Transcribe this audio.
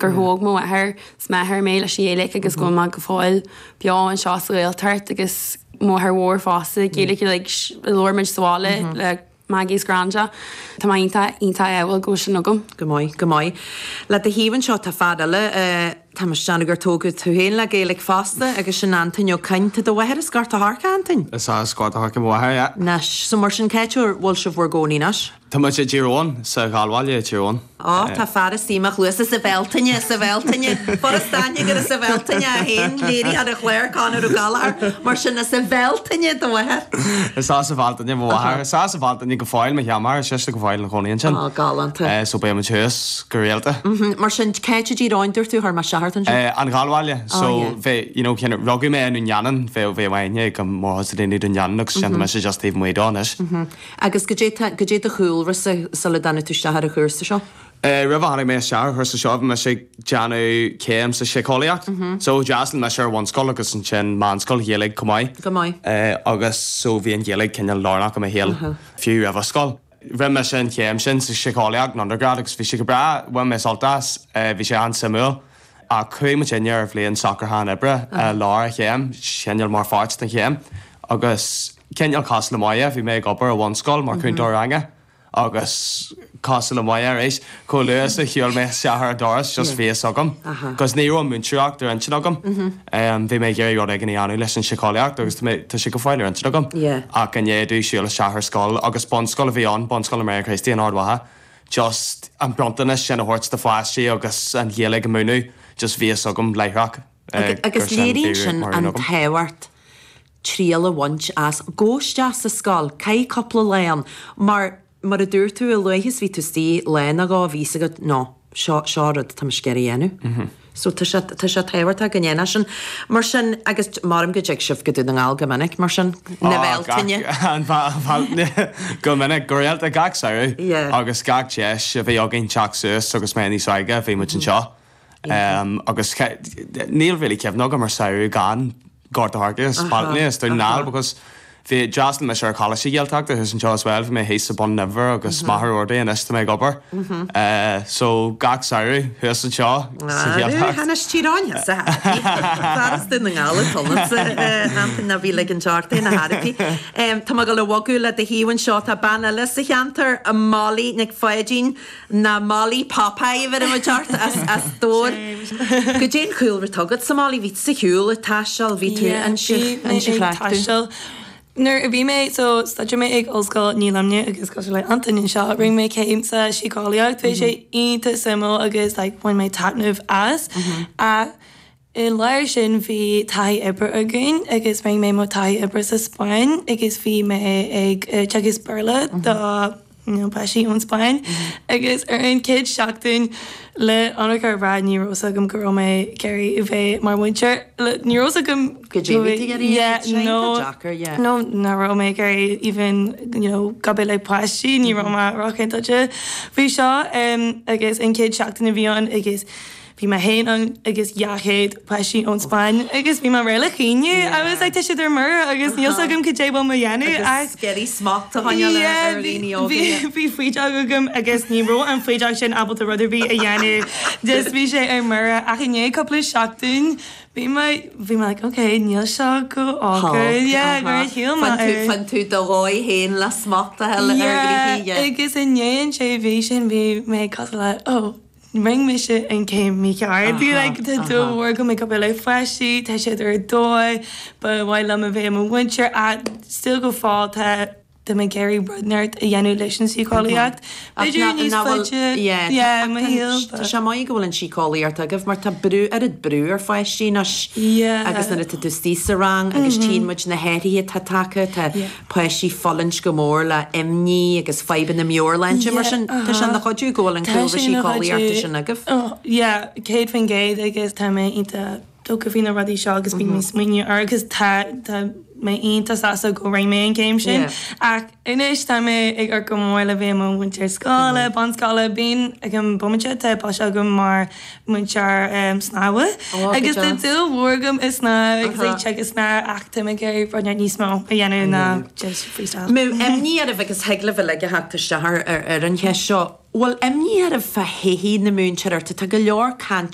gur thóg mo mháthair 's m'athair mé leis an Ghaeilge agus go bhfuil mé go fóill beo anseo sa Ghaeltacht agus mo mháthair mhór fosta Gaeilge like labhair muid sa bhaile le Maggie is Granda. Tá mé iontach iontach ádhúil go bhfuil sin agam. Go maith, go maith. Le do thaobh anseo tá fear eile, tá mé ag déanamh gur tógadh tú féin le Gaeilge fosta agus sin Antain Ó Coinn. Tá do mháthair as Gort a' Choirce, Antain? Is as Gort a' Choirce mo mháthair, yeah. Anois, so mar sin cá háit a bhfuil sibh bhur gcónaí anois? Tá muid i dTír Eoghain, sa Ghallbhaile i dTír Eoghain. Á, tá fear istigh i mo chluasa sa Bhealtaine, sa Bhealtaine. Furast aithne gur as an Bhealtaine é féin, léirithe ar an chlár Conor Ó Gallchóir, mar sin as an Bhealtaine do mháthair. Is as an Bhealtaine mo mháthair. Is as an Bhealtaine go fóill mo sheanmháthair, is sise go fóill ina chónaí ansin. Á, galánta. So beidh muid thuas go rialta. Mar sin, cá háit i dTír Eoghain, dúirt tú, chuir mé isteach ort ansin. An Ghallbhaile. So, bheadh, you know, rugadh mé i nDún Geanainn, bheadh, bheadh aithne ag an mórchuid de dhaoine Dún Geanainn agus sin tá mise just taobh amuigh dó anois. Agus goidé tá, goidé do chúlra-sa sula dtáinig tú isteach ar an chúrsa seo? Roimh a tháinig mé isteach ar an chúrsa seo bhí mise ag déanamh céim sa síceolaíocht. So d'fhreastail mise ar bhunscoil agus ansin meánscoil Ghaeilge chomh maith. Go maith. Agus so bhí an Ghaeilge cineál lárnach i mo shaol fiú roimh an scoil. Rinne mise an chéim sin sa síceolaíocht in undergrad agus bhí sé go breá, bhain mé sult as, bhí sé an-suimiúil. Ach chuaigh muidinne ar bhliain socrúchán oibre i lár an chéim, cineál mar pháirt den chéim, agus cineál cosúil le Moya, bhí mé ag obair i bhunscoil mar chúntóir ranga agus cosúil le Moya arís, chomh luath is a shiúil mé isteach ar an doras just bhí fhios agam, cos ní raibh an múinteoireacht ar intinn agam, bhí mé ag iarraidh rud éigin a dhéanamh leis an síceolaíocht agus tá sé go fóill ar intinn agam, ach i ndiaidh domh siúl isteach ar scoil agus bunscoil a bhí ann, Bunscoil na mBráithre Críostaí in Ard Mhacha, just an bronntanas sin a thabhairt do pháistí agus an Ghaeilge a mhúineadh, just bhí fhios agam láithreach gur Agus sin léiríonn bhí sin mar an agam. tábhacht triail a bhaint as, gabh isteach sa scoil, caith cúpla lá ann, mar mar a dúirt tú, a luaithe is bhí tú istigh lá nó dhó bhí fhios agat, no, seo, seo rud atá mise ag iarraidh a dhéanamh. So tá sé, tá sé tábhachtach go ndéanfá sin. Mar sin, agus maram go dtig sibh go Dún na nGall go minic, mar sin, na Bealtaine. An Bhealtaine go minic, go rialta, gach samhradh agus gach deis a bhí againn teacht suas agus mé níos óige, bhí muid anseo. Agus níl really cuimhne agam ar samhradh gan Gort a' Choirce is Bealtaine is Dún na nGall because bhí, d'fhreastail mise ar Choláiste Ghaeltachta thuas anseo as well, bhí mé thíos sa Bun Inbhir agus Machaire Rabhartaigh anois tá mé ag obair. So gach samhradh thuas anseo sa Ghaeltacht. Anois Tír Eoghain sa Fear as Dún na nGall atá ionatsa, Antain ná bí ag ligint ort é na hairbí. Tá mé ag dul a bhogadh le do thaobh anseo, tá bean eile sa cheantar, Molly Nic Pháidín. Ná Molly Popeye a bheireann muid ort as as Dobhar. Goidé an chúlra atá agatsa Molly, bhí tú sa shiúl ag taisteal, bhí tú Yeah, bhí mé ag taisteal. Nuair a bhí mé, so staidéar mé ag Ollscoil ní Luimnigh agus cosúil le Antain anseo, rinne mé céim sa síceolaíocht, bhí sé iontach suimiúil agus like bhain mé taitneamh as. Ach I lár sin bhí taithí oibre againn agus rinne mé mo taithí oibre sa Spáinn agus bhí mé ag teagasc Béarla do you know páistí ón Spáinn agus ar an chéad seachtain le ionraic a rá ní raibh fhios agam go raibh mé ag iarraidh a bheith mar mhúinteoir ní raibh fhios agam Go dtí bhí tú ag iarraidh yeah sé no deacair yeah. no nach raibh mé ag iarraidh even you know obair le páistí ní raibh mé róchinnte faoi seo agus an chéad seachtain a bhí ann agus Bhí mé féin ann agus 200 páistí ón Spáinn agus bhí mé réidh le caoineadh. I was like tá siad ar mire agus níl 's agam cad é bhfuil mé a dhéanamh ach. Agus ag iarraidh smacht a choinneáil ar dhaoine óga. Bhí bhí foighdeach agam agus ní raibh an foighdeach sin ábalta rud ar bith a dhéanamh. Just bhí sé ar mire ach i ndiaidh cúpla seachtain bhí mé bhí mé like ok níl seo go holc. Yeah gur shíl mé. Fann tú do dhóigh féin le smacht a fháil ar ghnoithí. Yeah agus i ndiaidh an sé mhí sin bhí mé cosúil le oh Rinne mise an chéim mícheart. Bhí like tá dúil mhór agam ag obair le páistí, tá siad ar dóigh, ba mhaith liom a bheith i mo mhúinteoir ach still go fóill tá tá mé ag iarraidh rud inteacht a dhéanamh leis an síceolaíocht. B'fhéidir níos faide yeah i mo shaol but. Tá sé maith go bhfuil an síceolaíocht agaibh mar tá brú oiread brú ar pháistí anois agus nuair atá tú istigh sa rang agus tchíonn muid na hathruithe atá tagtha, tá páistí ag fulaingt go mór le imní agus fadhbanna meabhairshláinte mar sin tá sé ina chuidiú go bhfuil an cúlra síceolaíochta sin agaibh. Yeah, 100% agus tá mé iontach tógtha faoi na rudaí seo agus bíonn mé ag smaoineamh air agus tá tá mé iontach sásta go rinne mé an chéim sin ach anois tá mé ag amharc go mór le bheith i mo mhúinteoir scoile, bunscoile, bíonn ag an bomaite tá post agam mar múinteoir snámha agus tá dúil mhór agam i snámh agus ag teagasc snámh ach tá mé ag iarraidh rud níos mó a dhéanamh ná just freestyle. Mbeadh imní oraibh agus thig libh uilig a theacht isteach ar an cheist seo, bhfuil imní oraibh fá thodhchaí na múinteoireachta? Tá go leor cainte.